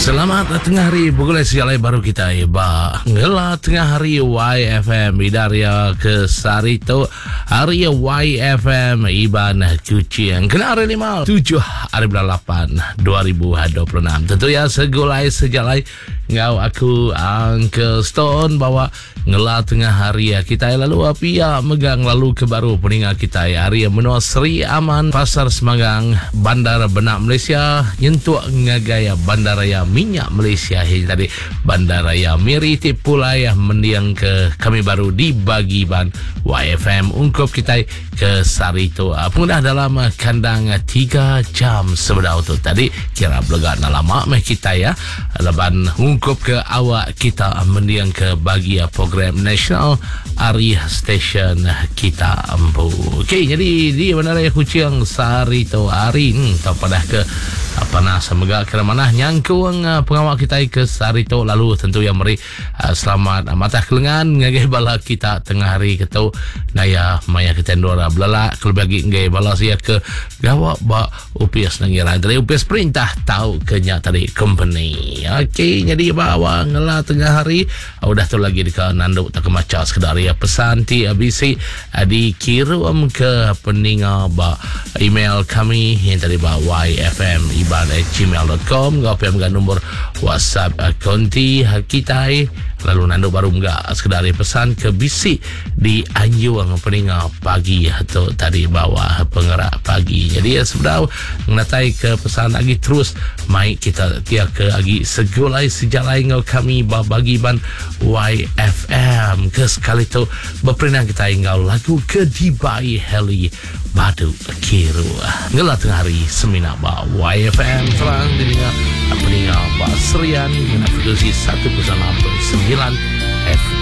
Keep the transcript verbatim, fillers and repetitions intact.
Selamat tengah hari begulai sejalai baru kita ba ngela tengah hari Y F M Idaria ke sehari tu, hari Y F M Iban Kuching kena hari lima tujuh hari bulan lapan dua ribu dua puluh enam. Tentu ya segulai sejalai ngau aku, Uncle Stone, bawa ngela tengah hari kita, lalu pia megang lalu ke baru peninga kita hari menua Seri Aman, Pasar Semanggang, Bandar Benak Malaysia, nyentuk ngagai Bandaraya Minyak Malaysia ini tadi, Bandaraya Miri, ti pulai mendiang ke kami baru di bagi ban Y F M ungkup kita ke sehari tu. Pengudah dalam kandang tiga jam sebedau tu tadi, kira belega nak lama meh kita ya laban ungkup ke awak kita mendiang ke bagi program nasional hari stesen kita empu. Okey, jadi di Bandaraya Kuching sehari tu hari hmm, tak padah ke panas mega kira mana nyangkung pengawal kita ke sehari tu. Lalu tentu yang meri uh, selamat uh, matah kelengan ngagai bala kita tengah hari ketu naya maya kita ndora belala kalau bagi ngagai bala sia ke gawak ba U P S nangira dari U P S perintah tahu kenya tadi company. Okey, jadi bawa ngela tengah hari uh, udah tu lagi dekat nanduk tak kemaca sekedar ya pesan ti A B C uh, dikirim ke peninga ba email kami yang tadi ba Y F M iban at gmail dot com ngau P M nombor WhatsApp uh, konti kita. Lalu nando baru enggak sekedar pesan ke bisik di anjung peninga pagi atau tadi bawah pengerak pagi. Jadi ya sebenar mengatai ke pesan lagi terus mai kita tia ke lagi segulai sejalai ngau kami bagi ban Y F M ke sekali tu berperinang kita ngau lagu ke Dibai Heli Badu Kiru. Ngela tengah hari semina ba Y F M terang didengar peninga ba Serian dengan frekuensi seratus enam perpuluhan sembilan F M.